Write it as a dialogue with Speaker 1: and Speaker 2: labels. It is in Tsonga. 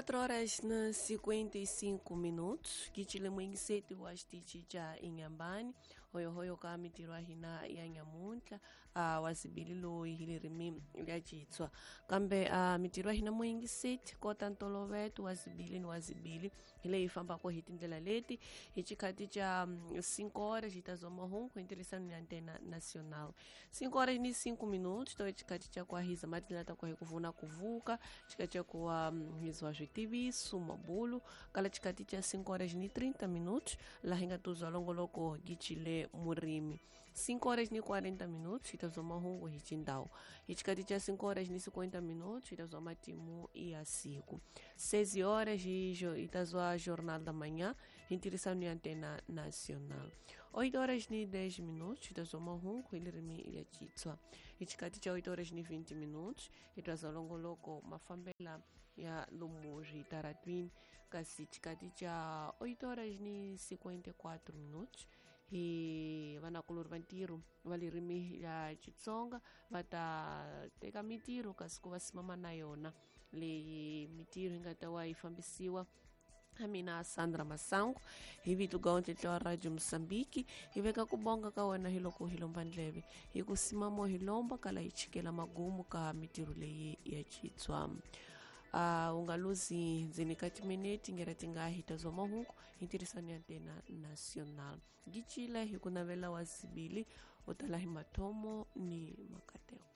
Speaker 1: 4 horas na 55 minutos kichile mwingiseti wa xitichi xa Inhambane hoyohoyo ka mitirho ya hina ya nyamuntlha wa sibili loyi hi ririmi ra Xitswa kambe mitirho ya hina muyingiseti kota ntoloveto wa sibili ni wa sibili hi leyi fambaka hi tindlela leti hi xikhathi xa 5 horas hi ta zwa mahungu hi ntirhisano ya Antena Nacional. 5 horas ni 5 minutos to xikhathi xa ku hiza matindlela ta ku hi ku vuna ku vuka xikhathi xa ku hizwa switiviso mabulu kala xikhathi xa 5 horas ni 30 minutos laha hi nga tuzwa longoloko gichile murimi. 5 horas ni 40 minutos hi ta zwa mahungu hi xindhawu. Hi xikhathi xa 5 horas ni 50 minutos hi ta zwa matimu ya siku. 6 horas hi ta zwa Jornal da Manhã hi ntirhisano ya Antena Nacional. 8 horas ni 10 minutos hi ta zwa mahungu hi ririmi ya Xitswa. Hi xikhathi xa 8 horas ni 20 minutos hi ta zwa longoloko mafambela ya lomu switaratwini, kasi xikhathi xa 8 horas ni 54 minutos hi vanakulori va ntirho va ririmi ya Xitsonga va ta teka mitirho kasi ku va simama na yona leyi mitirho yi nga ta wa yi fambisiwa ha mina Sandra Masangu hi vito ga ontletla wa Radio Mozambique. Hi veka ku bonga ka wena hi loko hi lomba ndleve hi ku simamo hi lomba kala hi chikela magumu ka mitirho leyi ya Xitswa. U nga luzi ndzeni ka timinete ngera ti nga hi ta zwa mahungu hi ntirhisano ya Antena Nacional. Gichile hi ku navela wa sibili u tala hi mathomo ni makateko.